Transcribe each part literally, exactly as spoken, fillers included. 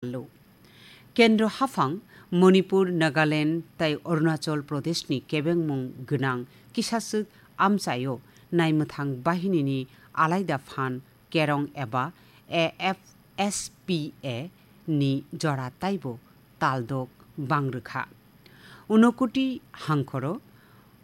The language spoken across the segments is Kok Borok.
Lo. Kendro haphang Manipur, Nagaland tei Arunachal Pradeshni kebengmung gwnang kisaswk amchaio naimwthang bahinini alaida phan kerong eba A F S P A ni jora taibo taldok bangrwkha. Unokuti hangkhoro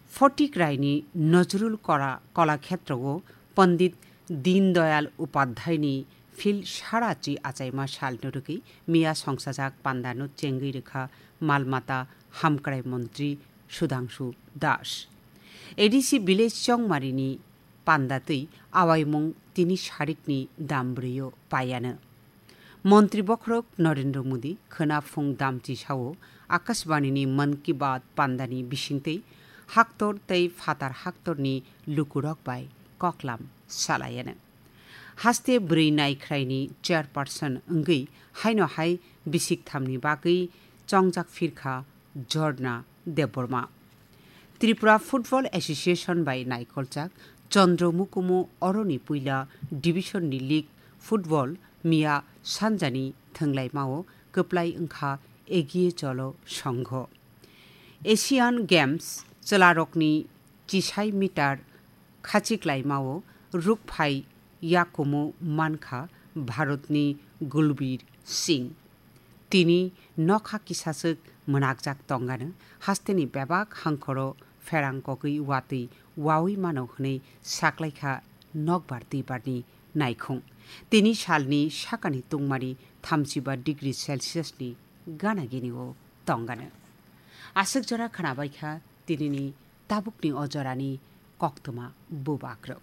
Photik Raini Nazrul Kora-, Kolakhetrogo Pandit Deen Dayal Upadhyayni phil sarachi achaima salno rwgwi miya songsajak pandano chengwi rwkha malmata hamkrai montri Sudhangshu Das. A D C village Chongmarini panda twi awaimung tini sarikni dam brwiyo paiano. Montri bokhorok Narendra Modi khwna phung damchi sao Akashbanini Mann Ki Baat pandani bisingtwi haktor tei phatar haktorni lukurok bai koklam salaiano. Haste bwrwi naikhraini chairperson wngwi haino hai bisik thamni bagwi chongjak phirkha Jorna Debbarma. Tripura Football Association bai naikolchak Chandra Mukumu oroni puila division ni league football miya sanjani thwnglaimao kwplai wngkha Egiye Cholo Songho. Asian Games chwlarokni chisai meter khachiklaimao rukphai yakumu mankha Bharatni Gulbir Singh. Tini nokha kisaswk mwnakjak tongano hasteni bebak hangkhoro pherang kogwi watwi wawi mano hwnwi saklaikha nokbar twibarni naikhung. Tini salni sakani tungmani thamchiba degree Celsius ni gana gini o tongano. Aswk jora khwnabaikha tinini tabukni o jorani koktwma bubakrok.